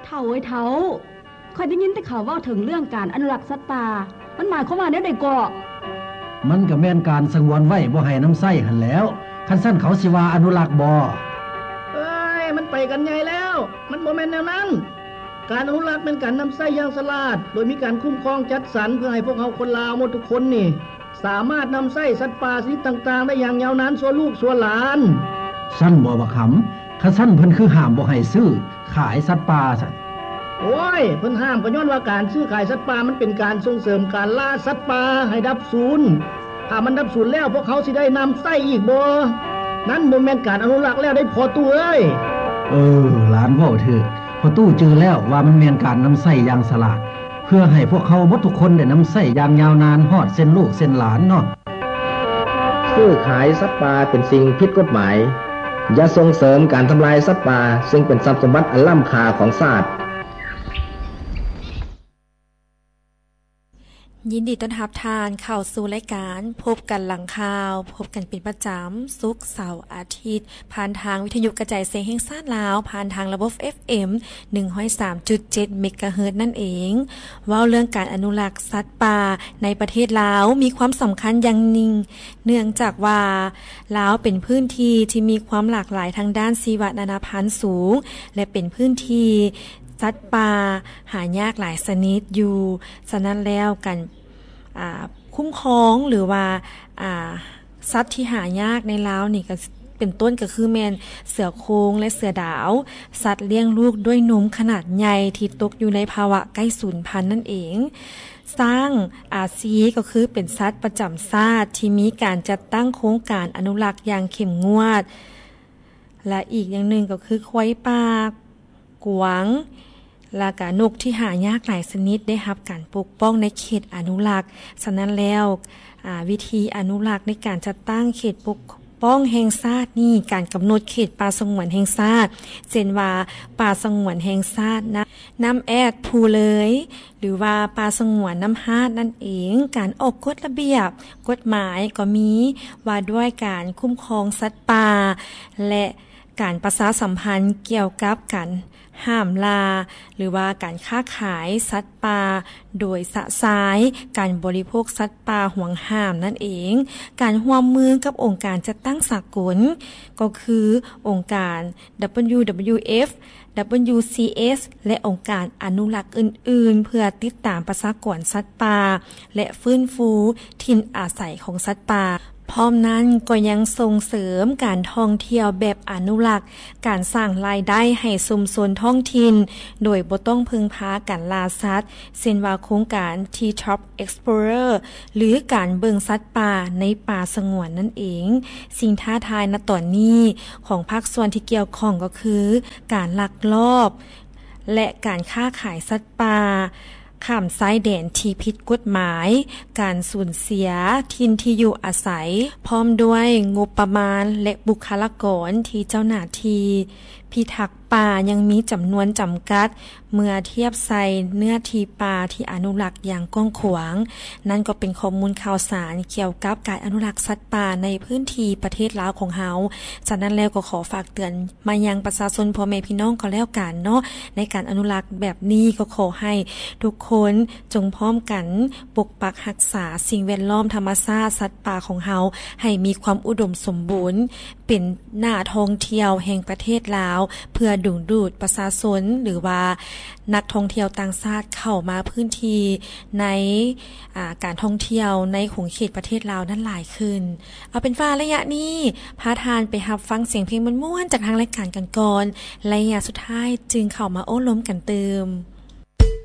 ເຖົ້າເອີຍເຖົ້າ, ຂ້ອຍໄດ້ຍິນແຕ່ເຂົາເວົ້າເຖິງເລື່ອງການອະນຸລັກສັດປ່າ, ມັນໝາຍຄວາມວ່າແນວໃດເກາະ? ມັນກໍແມ່ນການສະຫງວນໄວ້ບໍ່ໃຫ້ນຳໃຊ້ຫັ້ນແຫຼ້ວ, ຄັນຊັ້ນເຂົາຊິວ່າອະນຸລັກບໍ? ເອີຍ, ມັນໄປກັນໃຫຍ່ແລ້ວ, ມັນບໍ່ແມ່ນແນວນັ້ນ. ການອະນຸລັກແມ່ນການນຳໃຊ້ຢ່າງສະຫຼາດ, ໂດຍມີການຄຸ້ມຄອງຈັດສັນເພື່ອໃຫ້ພວກເຮົາຄົນລາວໝົດທຸກຄົນນີ້ ສາມາດນຳໃຊ້ສັດປ່າຊະນິດຕ່າງໆໄດ້ຢ່າງຍາວນານຊົ່ວລູກຊົ່ວຫຼານ. ຊັ້ນບໍບັກຫຳ? ຄັນຊັ້ນເພິ່ນຄືຫ້າມບໍ່ໃຫ້ຊື້ຂາຍສັດປ່າຊັ້ນ? ໂອ້ຍ, ເພິ່ນຫ້າມກໍຍ້ອນວ່າການຊື້ຂາຍສັດປ່າມັນເປັນການສົ່ງເສີມການລ່າສັດປ່າໃຫ້ດັບສູນ. ຖ້າມັນດັບສູນແລ້ວ, ພວກເຮົາຊິໄດ້ນຳໃຊ້ອີກບໍ່? ນັ້ນບໍ່ແມ່ນການອະນຸລັກແລ້ວເດ້ພໍ່ຕູ້ເອີຍ. ເອີ, ຫຼານເວົ້າຖືກ. ພໍ່ຕູ້ຈື່ແລ້ວວ່າມັນແມ່ນການນຳໃຊ້ຢ່າງສະຫຼາດ ເພື່ອໃຫ້ພວກເຮົາໝົດທຸກຄົນໄດ້ນຳໃຊ້ຢ່າງຍາວນານຮອດເຊັ່ນລູກເຊັ່ນຫຼານເນາະ. ຊື້ຂາຍສັດປ່າເປັນສິ່ງຜິດກົດໝາຍ. ຢ່າສົ່ງເສີມການທຳລາຍສັດປ່າ, ເຊິ່ງເປັນຊັບສົມບັດອັນລ້ຳຄ່າຂອງຊາດ. ຍິນດີຕ້ອນຮັບທ່ານເຂົ້າສູ່ລາຍການພົບກັນຫຼັງຂ່າວ, ພົບກັນເປັນປະຈຳ ສຸກ, ເສົາ, ອາທິດ ຜ່ານທາງວິທະຍຸກະຈາຍສຽງແຫ່ງຊາດລາວ, ຜ່ານທາງລະບົບ ເອັຟເອັມ ໜຶ່ງຮ້ອຍສາມຈຸດເຈັດ ເມກາເຮີດນັ້ນເອງ. ເວົ້າເລື່ອງການອະນຸລັກສັດປ່າໃນປະເທດລາວ ມີຄວາມສຳຄັນຢ່າງຍິ່ງ, ເນື່ອງຈາກວ່າລາວເປັນພື້ນທີ່ທີ່ມີຄວາມຫຼາກຫຼາຍທາງດ້ານຊີວະນານາພັນສູງ ແລະ ເປັນພື້ນທີ່ສັດປ່າຫາຍາກຫຼາຍຊະນິດຢູ່. ສະນັ້ນແລ້ວ ການ ອາ ຄຸ້ມຄອງ ຫຼືວ່າ ອາ ສັດທີ່ຫາຍາກໃນລາວນີ້ ກໍເປັນຕົ້ນກໍຄືແມ່ນເສືອໂຄງ ແລະ ເສືອດາວ, ສັດລ້ຽງລູກດ້ວຍນົມຂະໜາດໃຫຍ່ທີ່ຕົກຢູ່ໃນພາວະໃກ້ສູນພັນນັ້ນເອງ. ຊ້າງອາຊີ ກໍຄືເປັນສັດປະຈຳຊາດທີ່ມີການຈັດຕັ້ງໂຄງການອະນຸລັກຢ່າງເຂັ້ມງວດ ແລະ ອີກຢ່າງໜຶ່ງກໍຄືຄວາຍປ່າ, ກວາງ ແລະ ກະນົກທີ່ຫາຍາກຫຼາຍຊະນິດໄດ້ຮັບການປົກປ້ອງໃນເຂດອະນຸລັກ. ສະນັ້ນແລ້ວ ອາ ວິທີອະນຸລັກໃນການຈັດຕັ້ງເຂດປົກປ້ອງແຫ່ງຊາດນີ້ ການກຳນົດເຂດປ່າສະຫງວນແຫ່ງຊາດ ເຊັ່ນວ່າ ປ່າສະຫງວນແຫ່ງຊາດນ້ຳ ນ້ຳແອດພູເລີຍ ຫຼືວ່າປ່າສະຫງວນນ້ຳຮາດນັ້ນເອງ, ການອອກກົດລະບຽບກົດໝາຍກໍມີວ່າດ້ວຍການຄຸ້ມຄອງສັດປ່າ ແລະ ການປະຊາສຳພັນກ່ຽວກັບການຫ້າມລ່າ ຫຼືວ່າການຄ້າຂາຍສັດປ່າໂດຍຊະຊາຍ, ການບໍລິໂພກສັດປ່າຫວງຫ້າມນັ້ນເອງ, ການຮ່ວມມືກັບອົງການຈັດຕັ້ງສາກົນ ກໍຄືອົງການ ດັບເບິນຢູດັບເບິນຢູເອັຟ ດັບເບິນຢູຊີເອັສ ແລະ ອົງການອະນຸລັກອື່ນໆ ເພື່ອຕິດຕາມປະຊາກອນສັດປ່າ ແລະ ຟື້ນຟູຖິ່ນອາໄສຂອງສັດປ່າ. ພ້ອມນັ້ນກໍຍັງສົ່ງເສີມການທ່ອງທ່ຽວແບບອະນຸລັກ, ການສ້າງລາຍໄດ້ໃຫ້ຊຸມຊົນທ້ອງຖິ່ນ ໂດຍບໍ່ຕ້ອງເພິ່ງພາການລ່າສັດ, ເຊັ່ນວ່າໂຄງການ Treetop Explorer ຫຼື ການເບິ່ງສັດປ່າໃນປ່າສະຫງວນນັ້ນເອງ. ສິ່ງທ້າທາຍນະຕອນນີ້ຂອງພາກສ່ວນທີ່ກ່ຽວຂ້ອງກໍຄື ການລັກລອບ ແລະ ການຄ້າຂາຍສັດປ່າຂ້າມຊາຍແດນທີ່ຜິດກົດໝາຍ, ການສູນເສຍຖິ່ນທີ່ຢູ່ອາໄສ, ພ້ອມດ້ວຍງົບປະມານ ແລະ ບຸກຄະລາກອນທີ່ເຈົ້າໜ້າທີ່ພິທັກປ່າຍັງມີຈຳນວນຈຳກັດ ເມື່ອທຽບໃສ່ເນື້ອທີ່ປ່າທີ່ອະນຸລັກຢ່າງກວ້າງຂວາງ. ນັ້ນກໍເປັນຂໍ້ມູນຂ່າວສານກ່ຽວກັບການອະນຸລັກສັດປ່າໃນພື້ນທີ່ປະເທດລາວຂອງເຮົາ. ສະນັ້ນແລ້ວກໍຂໍຝາກເຕືອນມາຍັງປະຊາຊົນພໍ່ແມ່ພີ່ນ້ອງກໍແລ້ວກັນເນາະ, ໃນການອະນຸລັກແບບນີ້ກໍຂໍໃຫ້ທຸກຄົນຈົ່ງພ້ອມກັນປົກປັກຮັກສາສິ່ງແວດລ້ອມ, ທຳມະຊາດ, ສັດປ່າຂອງເຮົາໃຫ້ມີຄວາມອຸດົມສົມບູນ, ເປັນໜ້າທ່ອງທ່ຽວແຫ່ງປະເທດລາວ ເພື່ອດຶງດູດປະຊາຊົນ ຫຼືວ່ານັກທ່ອງທ່ຽວຕ່າງຊາດເຂົ້າມາພື້ນທີ່ໃນ ອາ ການທ່ອງທ່ຽວໃນຂົງເຂດປະເທດລາວນັ້ນຫຼາຍຂຶ້ນ. ເອົາເປັນວ່າໄລຍະນີ້ພາທ່ານໄປຮັບຟັງສຽງເພງມ່ວນໆ ຈາກທາງລາຍການກັນກ່ອນ, ໄລຍະສຸດທ້າຍຈຶ່ງເຂົ້າມາໂອ້ລົມກັນຕື່ມ.